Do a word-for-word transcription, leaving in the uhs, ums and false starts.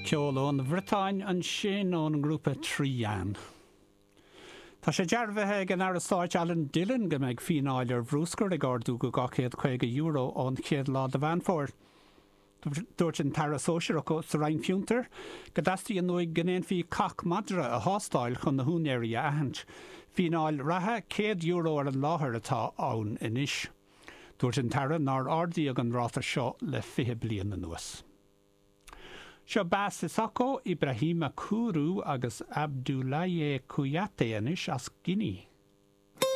Ceol ón Bhriotáin ansin ón ngrúpa Tri-Yann. Tá sé dearbhaithe ag an Aire Stáit Alan Dillon go mbeidh fíneáil ar bhruscar ag ardú go dhá chéad caoga euro ón chéad lá de Mheán Fómhair. Dúirt an tAire Sóisearach sa Roinn Fiontar go dteastaíonn uaidh go ndéanfaí cac madra a thástáil chun na húinéirí a aithint. Fíneáil reatha céad euro ar an láthair atá ann anois. Dúirt an tAire nár ardaíodh an ráta seo le fiche bliain anuas. Seo Ba Sissoko, Ibrahima Kourou agus Abdoulaye Kouyaté anois as Guinea.